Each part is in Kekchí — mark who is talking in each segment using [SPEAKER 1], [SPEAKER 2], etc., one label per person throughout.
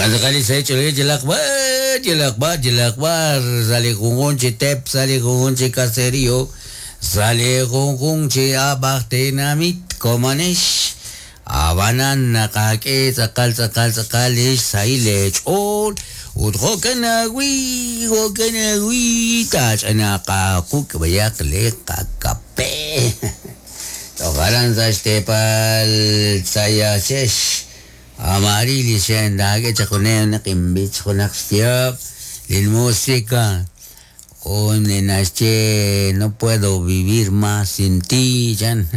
[SPEAKER 1] Okan sa yalaq b'ar, yalaq b'ar, yalaq b'ar, sa' li junjun chi teep, sa' li junjun chi caserío, sa' li junjun chi ab'aj tenamit komonex. Ab'anan naqak'e tz'aqal tz'aqal tz'aqal lix sahil eech'ool ut jo'kan ajwi' jo'kan ajwi' taach'anaaq aaquk' b'ayaq li qakape. Toj aran sa' xteepal Tzayaxex Amarili xe'ndaak'e chaq junaq naq inb'ich junaq xyaab' lin música jun li naxye no puedo vivir más sin ti chan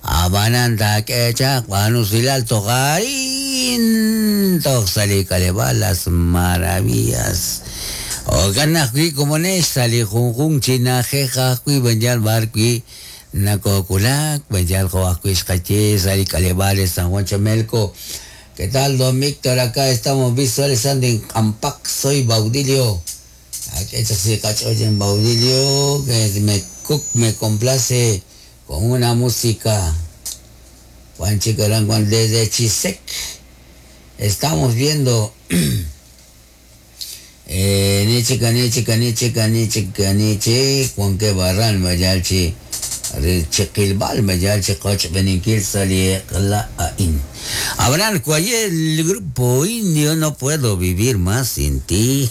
[SPEAKER 1] ab'anan taak'e chaq b'aanu usilal toj arin toj sa' li k'aleb'aal Las Maravillas jo'kan ajwi' komonex sa' li junjunq chi na'ajej ajwi' b'an yal b'ar wi' Nakookulak, yal jo' ajwi' xqaye sa' li k'aleb'aal de San Juan Chamelco. ¿Qué tal, don Víctor? Acá estamos visualizando en Campac. Soy Baudilio. Aquí en Baudilio, que me, me complace con una música. Juan Chicarán, Juan, desde Chisec. Estamos viendo. Nichika, nichika, nichika, nichika, nichi, Juan que barran, mayalchi. Chiquilbal, mayalchi, qoch, beninkil, in. Abraham, el grupo indio, no puedo vivir más sin ti.